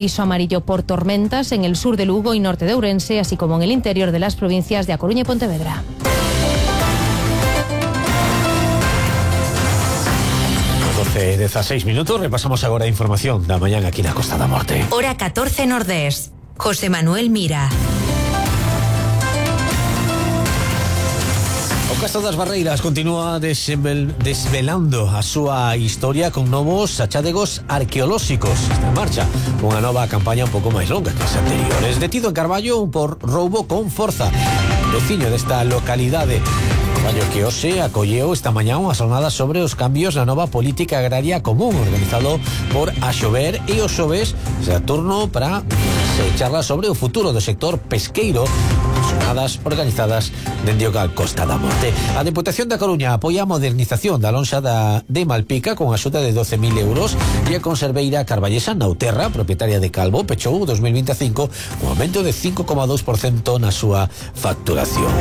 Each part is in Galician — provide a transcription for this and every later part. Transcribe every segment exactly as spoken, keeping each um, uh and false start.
Aviso amarillo por tormentas en el sur de Lugo y norte de Ourense, así como en el interior de las provincias de A Coruña y Pontevedra. doce dieciséis minutos, repasamos agora a información da mañán aquí na Costa da Morte. Hora catorce Nordés. José Manuel Mira. O Castro das Barreiras continúa desvel, desvelando a súa historia con novos achádegos arqueolóxicos. Está en marcha unha nova campaña un pouco máis longa que as anteriores. Detido en Carballo por roubo con forza. Veciño desta localidade Carballo que hoxe acolleu esta mañá unha xornada sobre os cambios na nova política agraria común organizado por Axover e os xoves será turno para se charla sobre o futuro do sector pesqueiro, xornadas organizadas dende o Gal Costa da Morte. A Deputación da Coruña apoia a modernización da lonxa da, de Malpica con axuda de doce mil euros e a conserveira carballesa Nauterra, propietaria de Calvo, pechou dos mil veinticinco un aumento de cinco coma dos por cento na súa facturación.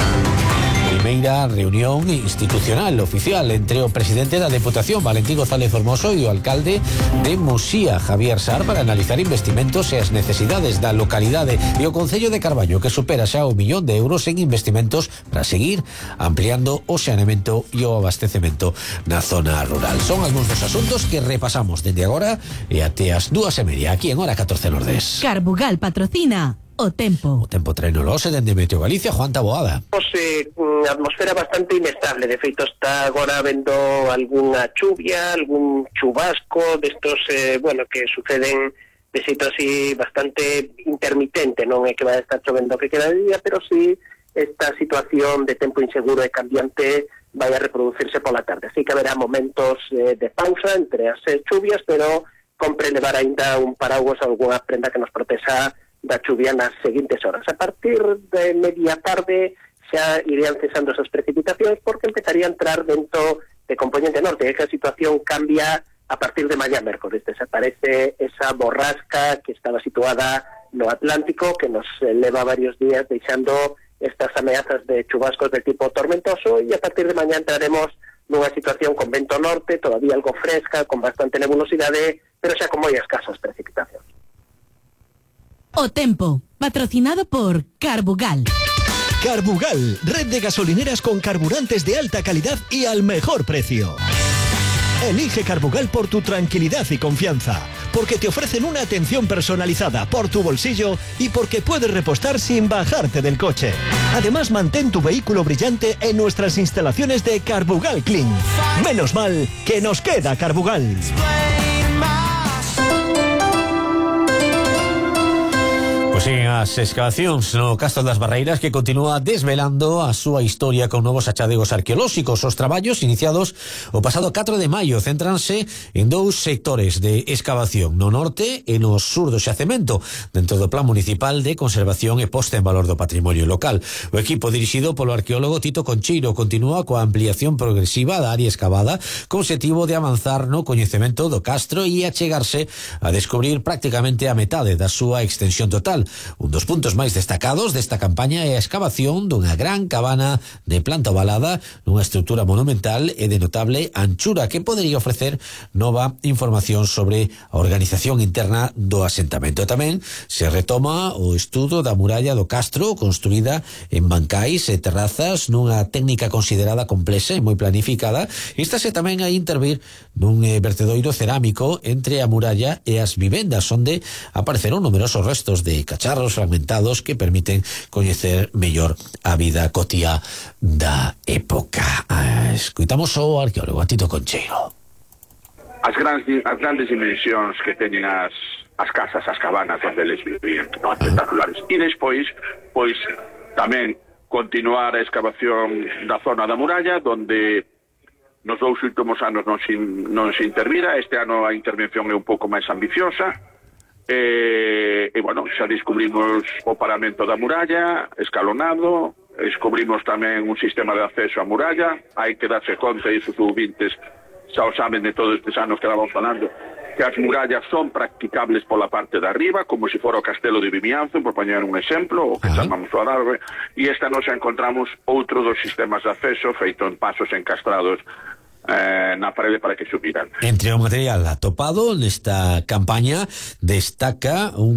Primeira reunión institucional oficial entre o presidente da Deputación, Valentín González Formoso, e o alcalde de Muxía, Javier Sar, para analizar investimentos e as necesidades da localidade e o Concello de Carballo, que supera xa o millón de euros en investimentos para seguir ampliando o saneamento e o abastecemento na zona rural. Son algúns dos asuntos que repasamos dende agora e até as dúas e media aquí en Hora catorce Nordés. Carbugal patrocina o tempo. O tempo trenolose dende Meteo Galicia, Juan Taboada. Pois, eh, atmosfera bastante inestable, de feito está agora vendo algunha chuvia, algún chubasco destos, eh, bueno, que suceden de xeito así bastante intermitente, non é que vai estar chovendo que queda de día, pero sí esta situación de tempo inseguro e cambiante vai a reproducirse pola tarde, así que haberá momentos eh, de pausa entre as eh, chuvias, pero compre levar aínda un paraguas ou alguna prenda que nos proteja da chuvia nas seguintes horas. A partir de media tarde xa irían cesando esas precipitacións porque empezaría a entrar vento de componente norte, e que a situación cambia a partir de mañá mércoles. Desaparece esa borrasca que estaba situada no Atlántico, que nos leva varios días deixando estas ameazas de chubascos de tipo tormentoso, e a partir de mañá entraremos nunha situación con vento norte, todavía algo fresca, con bastante nebulosidade, pero xa con moi escasas precipitacións. O tempo, patrocinado por Carbugal. Carbugal, red de gasolineras con carburantes de alta calidad y al mejor precio. Elige Carbugal por tu tranquilidad y confianza, porque te ofrecen una atención personalizada por tu bolsillo y porque puedes repostar sin bajarte del coche. Además, mantén tu vehículo brillante en nuestras instalaciones de Carbugal Clean. Menos mal que nos queda Carbugal. Pois en as excavacións no Castro das Barreiras, que continúa desvelando a súa historia con novos achadegos arqueolóxicos. Os traballos iniciados o pasado catro de maio céntranse en dous sectores de excavación, no norte e no sur do xacemento, dentro do Plan Municipal de Conservación e Posta en Valor do Patrimonio Local. O equipo dirixido polo arqueólogo Tito Concheiro continúa coa ampliación progresiva da área excavada con objetivo de avanzar no coñecemento do castro e achegarse a descubrir prácticamente a metade da súa extensión total. Un dos puntos máis destacados desta campaña é a excavación dunha gran cabana de planta ovalada nunha estrutura monumental e de notable anchura que podería ofrecer nova información sobre a organización interna do asentamento. Tamén se retoma o estudo da muralla do castro construída en bancais e terrazas nunha técnica considerada complexa e moi planificada. Estáse tamén a intervir nun vertedoiro cerámico entre a muralla e as vivendas, onde apareceron numerosos restos de cacharros fragmentados que permiten coñecer mellor a vida cotía da época. Ah, escuitamos o arqueólogo Tito Concheiro. As grandes, as grandes dimensións que teñen as, as casas, as cabanas onde eles vivían, non, espectaculares. E despois, pois, tamén continuar a excavación da zona da muralla, donde nos dous últimos anos non se, non se intervira. Este ano a intervención é un pouco máis ambiciosa. E, e bueno, xa descubrimos o paramento da muralla escalonado, descubrimos tamén un sistema de acceso á muralla. Hai que darse conta, e os ouvintes xa o saben de todos estes anos que vamos falando, que as murallas son practicables pola parte de arriba, como se fora o castelo de Vimianzo, por poñer un exemplo, o que chamamos o Adarve, e esta nos encontramos outro dos sistemas de acceso feito en pasos encastrados eh, na parede para que subiran. Entre o material atopado nesta campaña destaca un